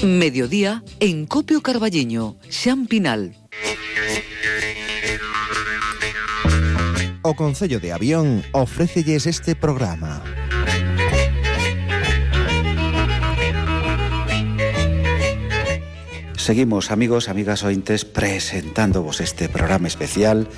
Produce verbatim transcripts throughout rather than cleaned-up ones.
Mediodía en Copio Carballiño, Xan Pinal. O Concello de Avión ofrécelles este programa. Seguimos, amigos, amigas ointes, presentándovos este programa especial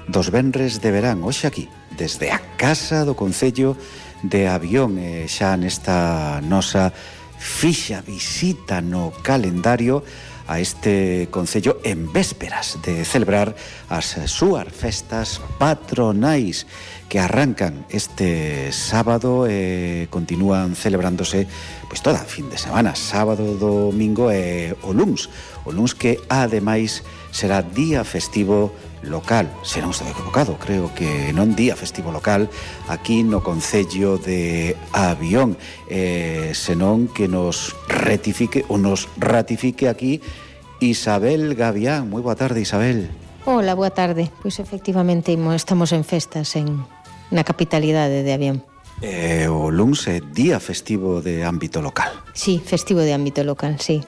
dos venres de verán, hoxe aquí, desde a Casa do Concello de Avión, e xa nesta nosa fixa visita no calendario a este concello en vésperas de celebrar as súas festas patronais que arrancan este sábado e continúan celebrándose pois toda a fin de semana, sábado, domingo e o luns. O luns que ademais será día festivo local, se non estou equivocado, creo que non día festivo local aquí no Concello de Avión, eh, senón que nos retifique ou nos ratifique aquí Isabel Gavián. Moi boa tarde, Isabel. Hola, boa tarde. Pois efectivamente estamos en festas en na capitalidade de Avión. Eh, o luns é día festivo de ámbito local. Sí, festivo de ámbito local, sí.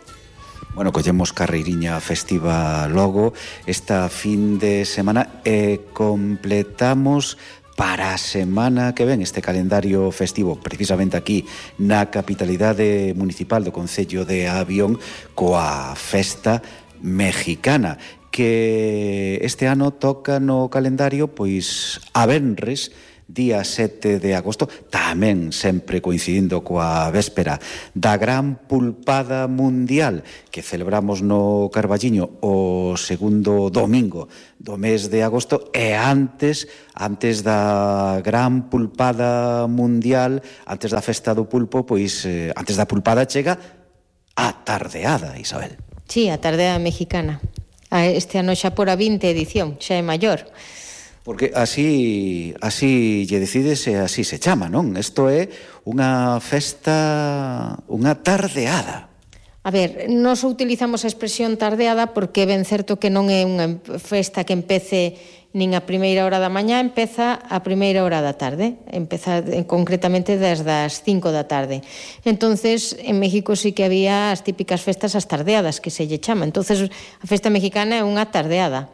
Bueno, collemos carreiriña festiva logo esta fin de semana e completamos para a semana que ven este calendario festivo precisamente aquí na capitalidade municipal do Concello de Avión coa festa mexicana que este ano toca no calendario pois a venres día sete de agosto, tamén sempre coincidindo coa véspera da gran pulpada mundial que celebramos no Carballiño o segundo domingo do mes de agosto e antes antes da gran pulpada mundial, antes da festa do pulpo, pois eh, antes da pulpada chega a tardeada, Isabel. Sí, a tardeada mexicana. Este ano xa por a vinte edición, xa é maior. Porque así así lle decides e así se chama, non? Isto é unha festa, unha tardeada. A ver, nós utilizamos a expresión tardeada porque ben certo que non é unha festa que empece nin a primeira hora da mañá, empeza a primeira hora da tarde, empeza concretamente desde as cinco da tarde. Entonces, en México sí que había as típicas festas as tardeadas, que se lle chama. Entonces, a festa mexicana é unha tardeada.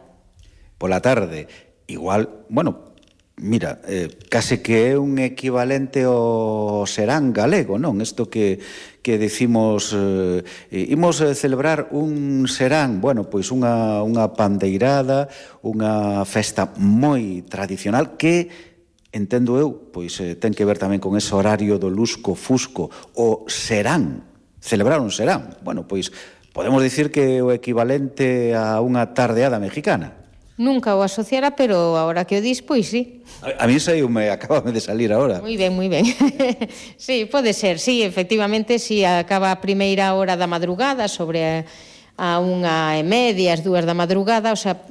Pola tarde. Igual, bueno, mira, eh, case que é un equivalente ao serán galego, non? Isto que, que decimos, eh, imos celebrar un serán, bueno, pois unha, unha pandeirada, unha festa moi tradicional que, entendo eu, pois eh, ten que ver tamén con ese horario do lusco-fusco, o serán, celebrar un serán. Bueno, pois podemos dicir que é o equivalente a unha tardeada mexicana. Nunca o asociara, pero ahora que o dis, pois sí. A, a mí saiu, me acaba de salir ahora. Moi ben, moi ben. Sí, pode ser, sí, efectivamente, si sí, acaba a primeira hora da madrugada, sobre a, a unha e media, as dúas da madrugada, o sea,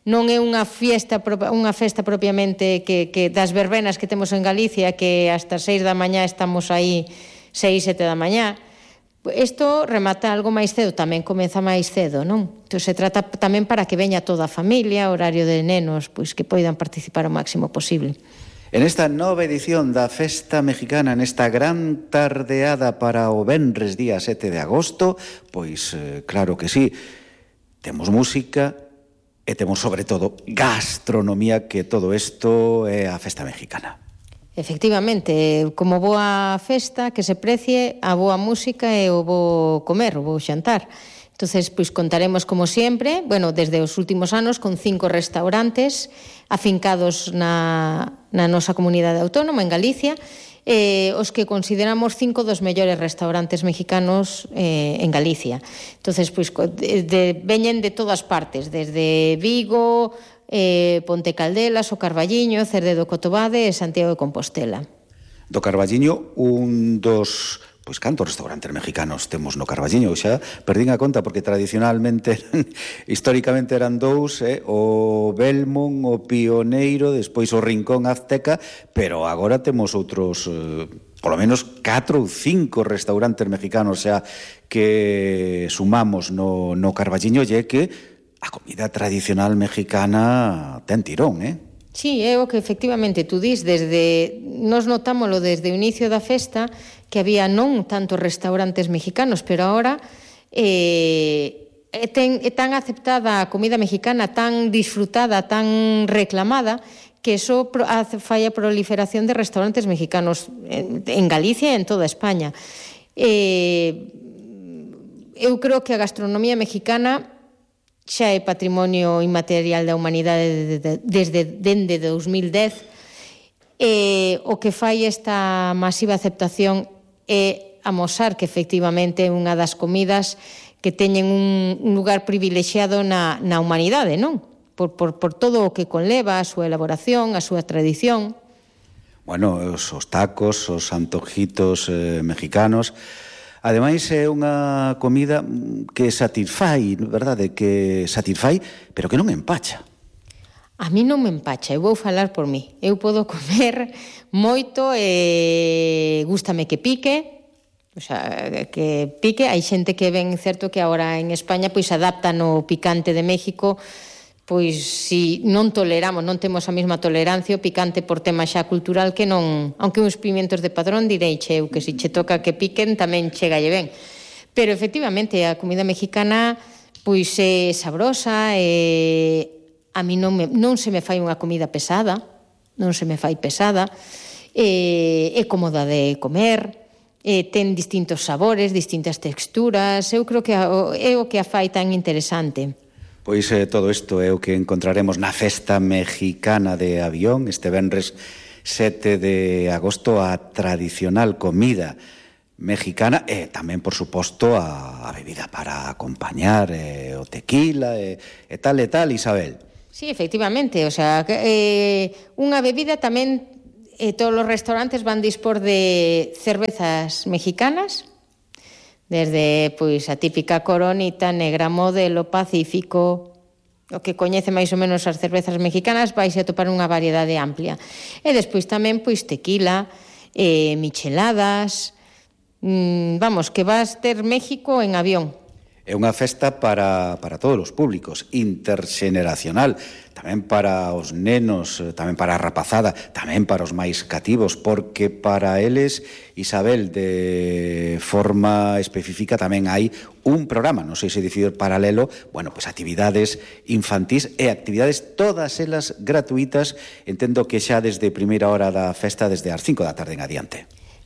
non é unha fiesta unha festa propiamente que, que das verbenas que temos en Galicia, que hasta seis da mañá estamos aí, seis, sete da mañá. Isto remata algo máis cedo, tamén comeza máis cedo, non? Entón se trata tamén para que veña toda a familia, horario de nenos, pois que poidan participar o máximo posible. En esta nova edición da Festa Mexicana, nesta gran tardeada para o venres día sete de agosto, pois eh, claro que sí, temos música e temos sobre todo gastronomía, que todo isto é a Festa Mexicana. Efectivamente, como boa festa que se precie a boa música e o bo comer, o bo xantar. Entonces, pois contaremos como sempre, bueno, desde os últimos anos con cinco restaurantes afincados na, na nosa comunidade autónoma en Galicia, eh, os que consideramos cinco dos mellores restaurantes mexicanos eh, en Galicia. Entonces, pois de, de, veñen de todas partes, desde Vigo, eh, Ponte Caldelas, o Carballiño, Cerdedo Cotobade e Santiago de Compostela. Do Carballiño, un dos... Pois cantos restaurantes mexicanos temos no Carballiño, xa perdín a conta porque tradicionalmente, históricamente eran dous, eh, o Belmont, o Pioneiro, despois o Rincón Azteca, pero agora temos outros, eh, polo menos catro ou cinco restaurantes mexicanos xa que sumamos no, no Carballiño, e que a comida tradicional mexicana ten tirón, eh? Sí, é o que efectivamente tú dis, desde, nos notámoslo desde o inicio da festa, que había non tantos restaurantes mexicanos, pero agora eh, é, ten, é tan aceptada a comida mexicana, tan disfrutada, tan reclamada, que eso fai a proliferación de restaurantes mexicanos en, en Galicia e en toda España. Eh, eu creo que a gastronomía mexicana xa é patrimonio inmaterial da humanidade desde dende dous mil dez. Eh, o que fai esta masiva aceptación é amosar que efectivamente é unha das comidas que teñen un, un lugar privilexiado na, na humanidade, non? Por, por, por todo o que conleva a súa elaboración, a súa tradición. Bueno, os, os tacos, os antojitos eh, mexicanos. Ademais, é unha comida que satisfai, verdade? Que satisfai, pero que non empacha. A mí non me empacha, eu vou falar por mí. Eu podo comer moito e gústame que pique, o sea, que pique. Hai xente que ven, certo, que agora en España pois adaptan o picante de México. Pois si non toleramos, non temos a mesma tolerancia o picante por tema xa cultural que non, aunque uns pimientos de padrón direi che eu que si che toca que piquen tamén chegalle ben. Pero efectivamente a comida mexicana pois é sabrosa e a mí non, me, non se me fai unha comida pesada, non se me fai pesada, e, é cómoda de comer, e ten distintos sabores, distintas texturas, eu creo que é o que a fai tan interesante. Pois eh, todo isto é o que encontraremos na Festa Mexicana de Avión este venres sete de agosto, a tradicional comida mexicana e tamén, por suposto, a, a bebida para acompañar, eh, o tequila e, e tal e tal, Isabel. Sí, efectivamente, o sea, eh, unha bebida tamén, eh, todos os restaurantes van dispor de cervezas mexicanas, desde pois a típica Coronita, Negra Modelo, Pacífico, o que coñece máis ou menos as cervezas mexicanas, vais a topar unha variedade amplia. E despois tamén pois tequila, eh, micheladas, mm, vamos, que vas ter México en avión. É unha festa para, para todos os públicos, interxeneracional, tamén para os nenos, tamén para a rapazada, tamén para os máis cativos, porque para eles, Isabel, de forma específica tamén hai un programa, non sei se dicir paralelo, bueno, pois actividades infantís e actividades todas elas gratuitas, entendo que xa desde primeira hora da festa, desde as cinco da tarde en adiante.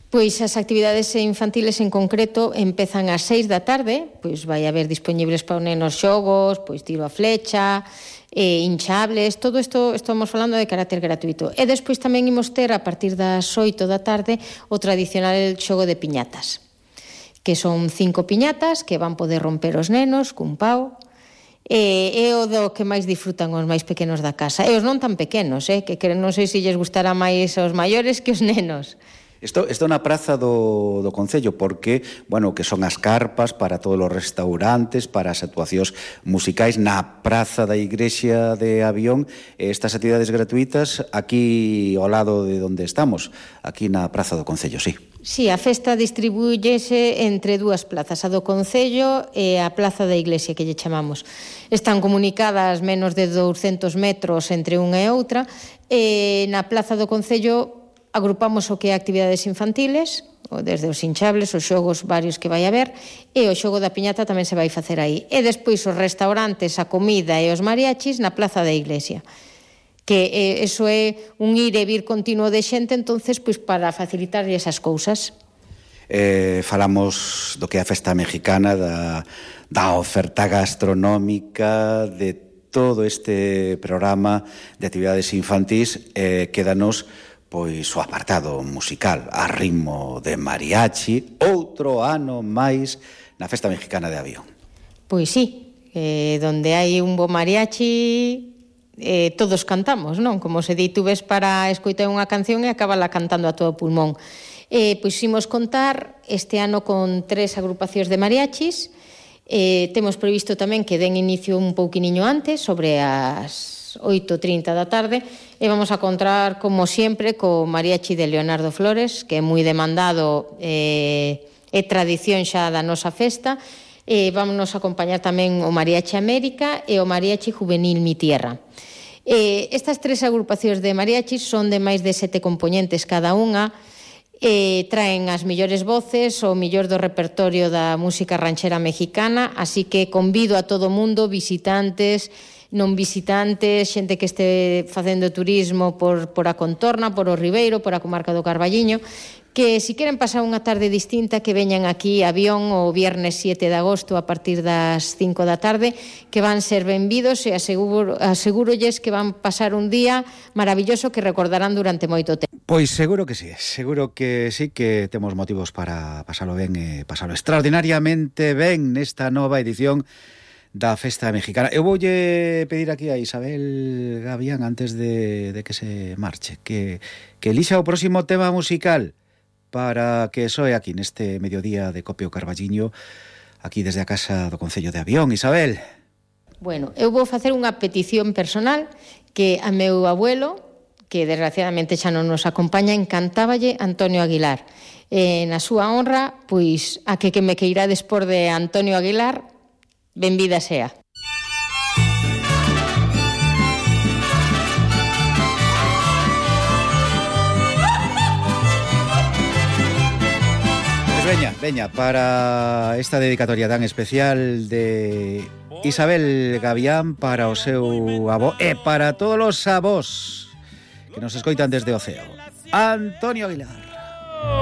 Pois as actividades infantiles en concreto empezan ás seis da tarde, pois vai haber disponibles para os nenos xogos, pois tiro a flecha, eh, hinchables, todo isto estamos falando de carácter gratuito. E despois tamén imos ter a partir das oito da tarde o tradicional xogo de piñatas, que son cinco piñatas que van poder romper os nenos cun pau, e é o do que máis disfrutan os máis pequenos da casa. E os non tan pequenos, eh, que non sei se lles gustará máis aos maiores que os nenos. Isto, isto na praza do, do Concello, porque, bueno, que son as carpas para todos os restaurantes, para as actuacións musicais na praza da Igrexa de Avión, estas actividades gratuitas aquí ao lado de onde estamos, aquí na praza do Concello, sí. Sí, a festa distribúyese entre dúas plazas, a do Concello e a plaza da Iglesia, que lle chamamos. Están comunicadas menos de douscentos metros entre unha e outra, e na plaza do Concello agrupamos o que é actividades infantiles, desde os hinchables, os xogos varios que vai haber, e o xogo da piñata tamén se vai facer aí. E despois os restaurantes, a comida e os mariachis na plaza da Iglesia. Que eh, eso é un ir e vir continuo de xente, entonces, pois para facilitar esas cousas. Eh, falamos do que é a Festa Mexicana, da, da oferta gastronómica, de todo este programa de actividades infantís, eh, quédanos pois o apartado musical a ritmo de mariachi, outro ano máis na Festa Mexicana de Avión. Pois sí, eh, donde hai un bo mariachi, eh, todos cantamos, non? Como se di, tú ves para escoitar unha canción e acabala cantando a todo pulmón. Eh, pois imos contar este ano con tres agrupacións de mariachis. Eh, temos previsto tamén que den inicio un pouquiniño antes, sobre as oito e trinta da tarde, e vamos a contar, como sempre, co mariachi de Leonardo Flores, que é moi demandado, eh, é tradición xa da nosa festa, e vámonos a acompañar tamén o Mariachi América e o Mariachi Juvenil Mi Tierra. Eh, estas tres agrupacións de mariachis son de máis de sete componentes cada unha, E traen as millores voces, o millor do repertorio da música ranchera mexicana, así que convido a todo o mundo, visitantes, non visitantes, xente que este facendo turismo por, por a contorna, por o Ribeiro, por a comarca do Carballiño, que si queren pasar unha tarde distinta, que veñan aquí a Avión o viernes siete de agosto a partir das cinco da tarde, que van ser benvidos e aseguro, asegurolles que van pasar un día maravilloso que recordarán durante moito tempo. Pois seguro que sí, seguro que sí que temos motivos para pasalo ben e pasalo extraordinariamente ben nesta nova edición da Festa Mexicana. Eu voulle pedir aquí a Isabel Gavián antes de, de que se marche que, que elixa o próximo tema musical para que soe aquí neste mediodía de Copio Carballiño, aquí desde a casa do Concello de Avión. Isabel. Bueno, eu vou facer unha petición personal que a meu abuelo, que desgraciadamente xa non nos acompaña, encantáballe Antonio Aguilar. E na súa honra, pois, a que que me queirades por de Antonio Aguilar, benvida sea. Pues veña, veña, para esta dedicatoria tan especial de Isabel Gavián para o seu avó e para todos os avós que nos escoitan desde o ceo. Antonio Aguilar.